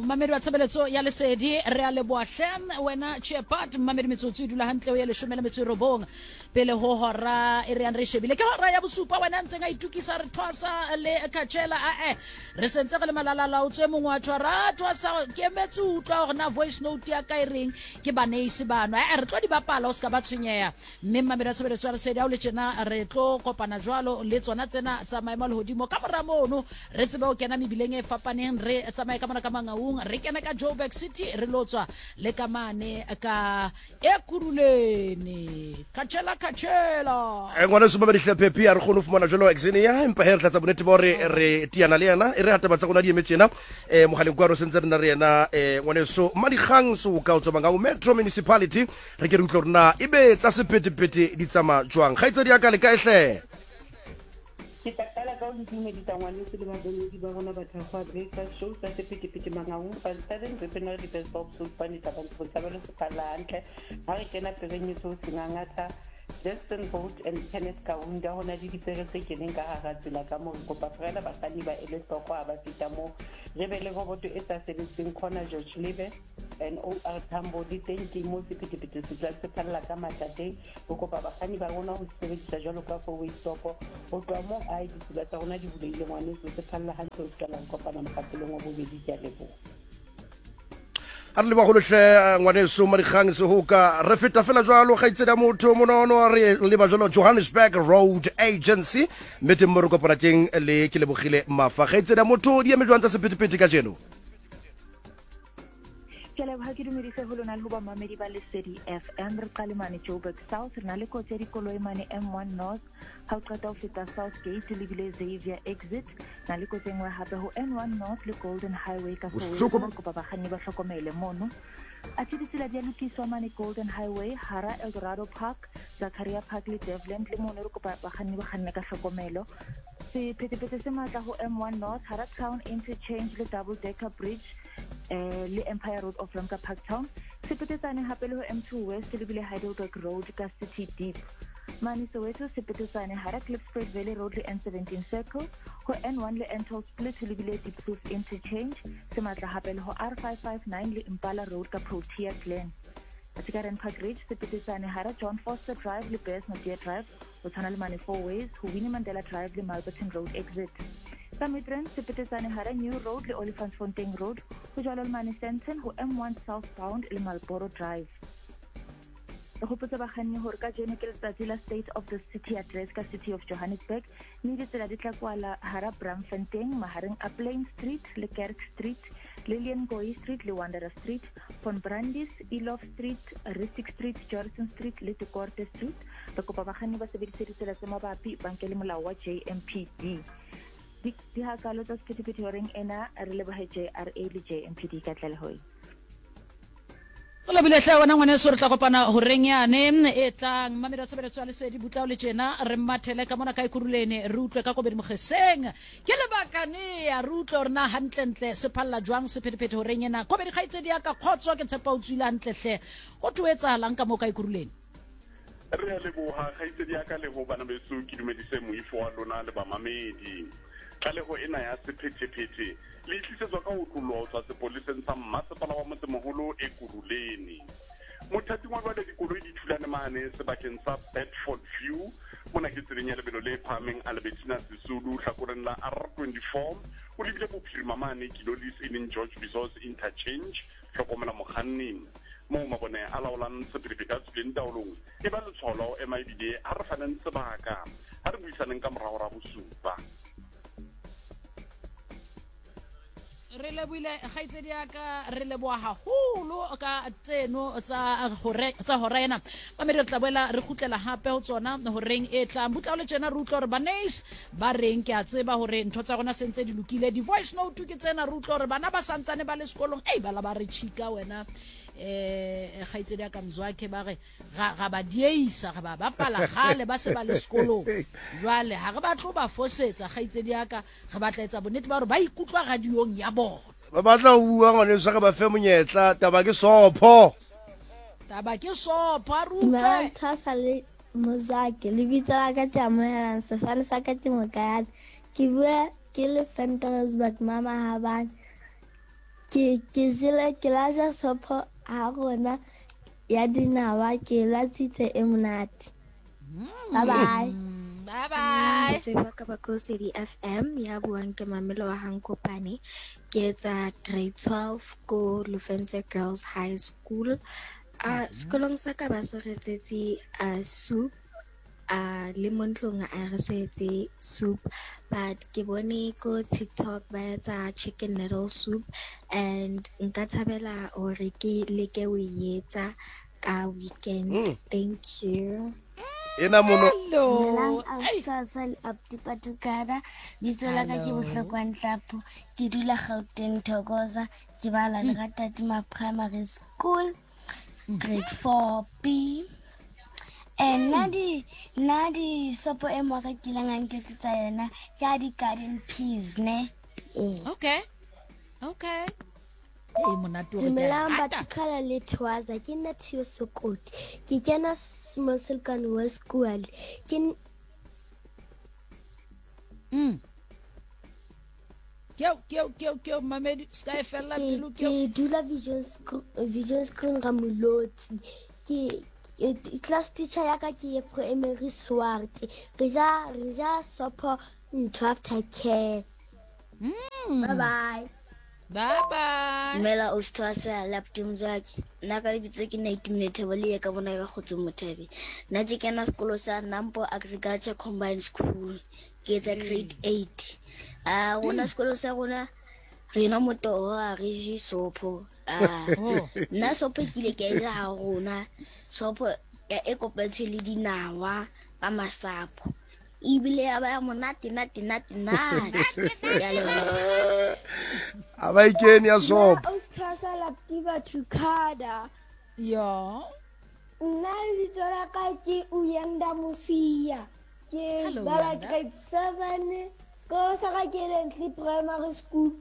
Mmamedi wa tshebeletso ya Lesedi, re a leboha hle wena Chepat. Mmamedi, metsotso e dula hantle o ye 19 pele ho hora e re yang re shebile ke hora ya bosupa. Wena ntseng a itukisa re thwasa le khatshela ae re sentse re le malalala o tswe mongwe wa tshwara thwasa ke emetse utlwa gore na voice note ya ka e reng ke baneisi bano ae re tlo di bapala o se ka ba tshwenyeha. Mme mmamedi wa tshebeletso ya Lesedi, ha o le tjena re tlo kopana jwalo le tsona tsena tsa maemo a lehodimo. Ka mora mono re tsebe ho kena mebileng e fapaneng, re tsamaye ka mona ka Mangaung, re kene ka Joburg City, re lo tswa le ka mane ka Ekurhuleni. Khatshela, khatshela. Eh, ngwaneso Mamedi Hlephephi a re kgone ho fumana jalo Xenia, empa he re tlatsa bonnete ba hore re tiana le yena e re ha taba tsa rona di eme tjena. Um mogaleng kwano sentse re na re yena um ngwaneso Madikgang Seoka o tswa Mangaung Metro Municipality. Re ke re utlwe gore na ebe tsa sephethephethe di tsamaya jwang. Kgaitsedi ya ka le kae hle? Ke tla qala ka ho le dumedisa ngwaneso le babomedi ba rona ba Thakgoa Breakfast Show tsa sephethephethe Mangaung, Van Staden, Wepener, di Best of Soutpane, Thabang Botshabelo se phalla hantle ha re kena pereng e so Sengangatha, Justin Boat and Kenneth Kaunda. Ho na le dipere tse keneng ka hara tsela ka moo, re kopa feela bakganni ba ele hloko ha ba feta moo. Re be le roboto e sa sebetseng corner George Lebe and OR Tambo le teng ke moo sephethephethe se tlang se phalla ka matla teng. Re kopa bakganni ba rona ho se sebedisa jwalo ka four way stop. Ho tloha moo ae ditsela tsa rona di bulehile ngwaneso, se phalla hantle ho fihlela re kopana mokgahlelong wa bobedi. Ke a leboha. A re leboga hle ngwaneso Madikgang Sehoka. Re feta fela jwalo kgaitsedi ya motho monono, re leba jwalo Johannesburg Road Agency, mme teng mo re kopana teng le ke lebogile Mafa. Kgaitsedi ya motho, di eme jwang tsa sephethephethe kajeno? Ke leboga, ke dumedise ho lona le ho bamamedi ba Lesedi FM. Re qale mane Joburg South, re na le kotsi ya dikoloi mane M1 North ha o qeta ho feta South Gate o lebile Xavier Exit. Na le kotsi e nngwe hape ho N1 North le Golden Highway ka Soweto, re kopa bakganni ba hlokomele mono. Athe ditsela di a lokiswa mane Golden Highway hara Eldorado Park, Zakaria Park le Devland, le mono re kopa bakganni ba kganne ka hlokomelo. Sephethephethe se matla ho M1 North hara Town Interchange le Double Decker Bridge eh, le Empire Road off ramp ka Parktown. Se petetsane hape le ho M2 West le bile Heidelberg Road ka City Deep. Mane Soweto se petetsane hara Klipspruit Valley Road le N17 Circle, ho N1 le N12 Split le bile Diepkloof Interchange. Se matla hape le ho R559 le Impala Road ka Protea Glen. Athe ka Randpark Ridge se petetsane hara John Foster Drive le Bears Napier Drive, ho tshwana le mane Four Ways ho Winnie Mandela Drive le Mulberton Road exit. Ka Midrand se petetsane hara New Road le Olifantsfontein Road, ho jwalo le mane Sandton ho M1 southbound le Marlboro Drive. Re gopotse bakganni gore kajeno ke letsatsi la State of the City Address ka City of Johannesburg, mme ditsela di tla kwala hara Braamfontein mahareng a Plain Street le Kerk Street, Lilian Ngoyi Street le Wanderer Street, Von Brandis, Eloff Street, Rissik Street, Jorissen Street le De Korte Street. Re kopa bakganni ba sebedise ditsela tse mabapi, ba nke le molao wa JMPD. Di, di hakalo tsa sephethephethe horeng ena, re lebohe JRA le JMPD ka tlaleho e. O lebile hle wena ngwaneso, re tla kopana horeng yane e tlang. Mmamedi wa tshebeletso ya Lesedi, butlao le tjena re mmathele ka mona ka Ekurhuleni, re utlwe ka Kobedi Mogeseng. Ke lebaka nea re utlwe hore na hantlentle se phalla jwang sephethephethe horeng ena. Kobedi kgaitsedi ya ka, kgotso, ke tshepa o tswile hantle hle. Ho thwe ho etsahalang ka moo ka Ekurhuleni? Re a leboha kgaitsedi ya ka le ho bana beso, ke dumedise moifo wa lona le bamamedi. Tlaleho ena ya sephethephethe le e tlisetswa ka ho otloloha ho tswa sepoleseng sa mmasepala wa motsemoholo Ekurhuleni. Mothating wa jwale dikoloi di thulane mane sebakeng sa Bedford View. Mona ke tseleng ya lebelo le phahameng Albertina Sisulu hlakoreng la R24 o lebile bophirima mane Kilolis e leng George Bizos Interchange. Hlokomela mokganni. Moo mabone a laolang sephethephethe a tswileng taolong, e ba letshwao la ho ema ebile ha re faneng sebaka. Ha re buisaneng ka mora hora ya bosupa. Re lebohile kgaitsedi ya ka, re leboha haholo ka tseno tsa hore tsa hora ena. Mamedi, re tla boela re kgutlela hape ho tsona horeng e tlang. Butla le tjena re utlwa hore baneis ba reng. Ke a tseba hore ntho tsa rona sentse di lokile. Di-voice note ke tsena, re utlwa hore bana ba santsane ba le sekolong. Ei, bala ba re chika wena eh kgaitsedi ya ka Mzwakhe, ba re ga ba dieisa, re ba bapala gale ba se ba le sekolong. Jwale ha re batle ho ba fosetsa kgaitsedi ya ka, re batla etsa bonnete ba hore ba ikutlwa radiong ya bona. Ba batla ho bua ngwaneso, re ba fe monyetla. Taba ke sopho. Taba ke sopho, a re utlwe. Dumelang Thwasa le Mozake. Lebitso la ka ke Amohelang, sefane sa ka ke Mokayane. Ke bua ke le Ventersburg, Mama Habane. Ke ke jele ke la ja sopho ha rona ya dinawa ke latsitse e monate. Bye bye. Bye bye. Batswadi ba ka ba ko Lesedi FM ya buang ke Mamelo wa Hankopane. Ke etsa grade 12 ko Lofentse Girls High School. A sekolong sa ka ba so re etsetse a soup a le mo ntlong a re so etse soup but ke bone ko TikTok ba etsa chicken noodle soup and nka thabela hore ke leke ho e etsa ka weekend. Thank you. Ena mono. Dumelang Ausi le Abuti Patukana. Bitso la ka ke Bohlokwa Ntlapho. Ke dula Gauteng Thokoza. Ke bala Leratadima Primary School grade 4B. Nna di nna di sopo e mo ka kileng a nketsetsa yona ke ya di-garden peas ne. Ee. Okay. Okay. Ee, monate o re ke a Dumelang rata. batho khala le Thoaza ke nna Theo Sokoti ke kena Moselkane West School ke Keo, keo, keo, keo, mamedi, ska e fella ke pelo ke keo. dula Vision Screen, Vision Screen ga Molotsi ke class teacher ya ka ke Emery Swart re ja re ja sopho ntho after care. Bye bye. Bye bye. Dumela o Sthwasa le abuti Mzwaki. Nna ka lebitso ke Naitumile Thabo le ye ka bona ka Kgotso Mothabe. Nna ke kena sekolo sa Nampo Agriculture Combined School. Ke etsa grade 8. A rona sekolo sa rona re nwa motoho ha re je sopho. Ah, Oh. nna sopho ke ile ka e ja ha rona. Sopho ya e kopantswe le dinawa ka masapo. Ebile ya ba ya monate nate nate nate. Ke a leboha. A ba ikene ya sopo. Nna o Sthwasa le abuti Bathukada. Yo. Nna lebitso la ka ke Uyanda Mosia. Ke Hello, bala Uyanda. grade 7. Sekolo sa ka ke Lentle Primary School.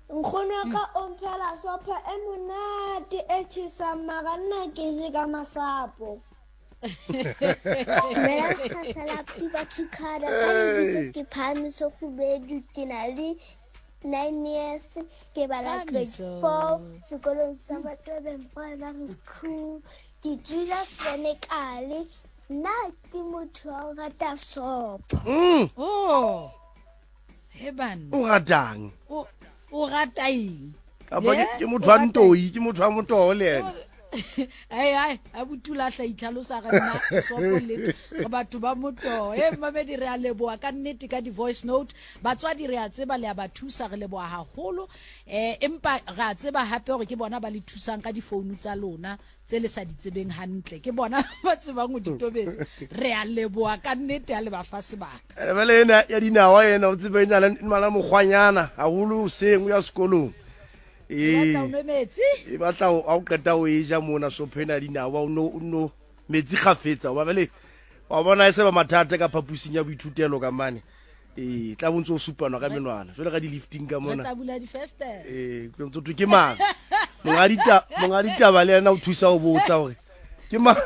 Nkgono wa ka o mphela sopho e monate e tjhesang mara nna ke je ka masapo. Dumelang Sthwasa le abuti Bathukada. Ka lebitso ke Phahamiso Kgubedu ke na le 9 years ke bala grade Phahamiso. 4 sekolong sa Batobeng Primary School. Ke dula Senekale. Nna ke motho wa ho rata sopho. Oh. He banna. O ratang? O o rata eng? Kapa Yeah, ke motho o wa rata ntoi, ke motho wa motoho le yena. Ai ai, abuti o lahla itlhalosa ga nna sopo le re batho ba motoho. E mamedi re a leboha ka nnete ka di-voice note. Batswadi re a tseba le a ba thusa re leboha haholo. Empa re a tseba hape hore ke bona ba le thusang ka difounu tsa lona tse le sa di tsebeng hantle. Ke bona ba tsebang ho di tobetsa. Re a leboha ka nnete ha le ba fa sebaka. Bjale ena ya dinawa ena o tsebe e na le na le mokgwanyana haholo hoseng o ya sekolong. E Ee. batla o nwe metsi? E batla o ha o qeta o e ja mona sopho ena ya dinawa o no o no metsi kgafetsa hoba jwale wa bona e se ba mathata ka phapusing ya boithutelo ka mane. Ee, tla bo ntse o supanwa ka menwana jwale ka di-lifting ka Re mona. tla bula difestere. Ee, ke ntse thwe ke mang? Monga dita monga ditaba le yena o thusa ho botsa hore ke mang.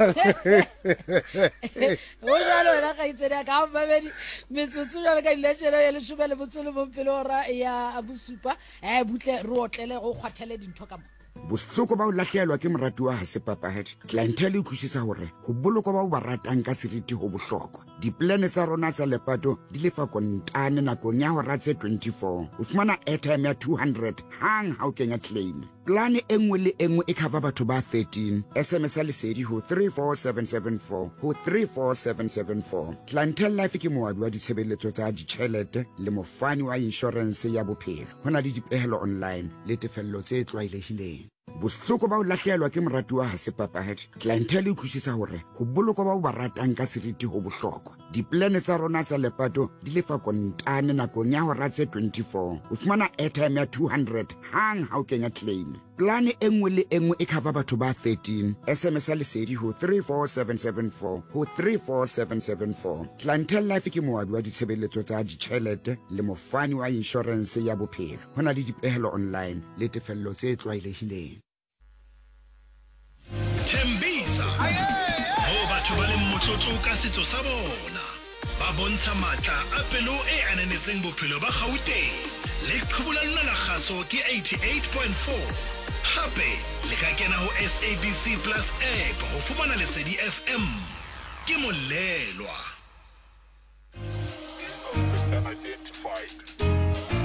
O jwalo wena kgaitsedi ya ka ha mamedi metsotso jwalo ka dileshene ya leshome le botso le bong pele hora ya bosupa. Butle re otlele go kgwathele dintho ka mo. Bohloko ba ho lahlehelwa ke moratuwa ha se papadi. Clientele e utlwisisa hore ho bolokwa ba o ba ratang ka seriti ho bohlokwa. Diplane tsa rona tsa lepato di lefa kontane nakong ya hora tse 24. O fumana airtime ya 200 hang ha o kenya claim. Plane e nngwe le e nngwe e cover batho ba 13. SMS ya lesedi ho 34774 ho 34774. Clientele Life ke moabi wa ditshebeletso tsa ditjhelete le mofani wa inshorense ya bophelo. Ho na le dipehelo online le tefello tse tlwaelehileng. Bohloko ba ho lahlehelwa ke moratuwa ha se papadi. Clientele e utlwisisa hore ho bolokwa ba o ba ratang ka seriti ho bohlokwa. Diplane tsa rona tsa lepato di lefa kontane nakong ya hora tse 24. O fumana airtime ya 200 hang ha o kenya claim. Plane e nngwe le e nngwe e cover batho ba 13. SMS ya lesedi ho 34774 ho 34774. Clientele Life ke moabi wa ditshebeletso tsa ditjhelete le mofani wa inshorense ya bophelo. Ho na le dipehelo online le tefello tse tlwaelehileng. Thembisa moo batho ba leng motlotlo ka setso sa bona, ba bontsha matla a pelo e ananetseng bophelo ba Gauteng. Leqhubu la lona la kgaso ke 88.4. Hape le ka kena ho SABC Plus app ho fumana Lesedi FM. Ke Molelwa. Suspect unidentified.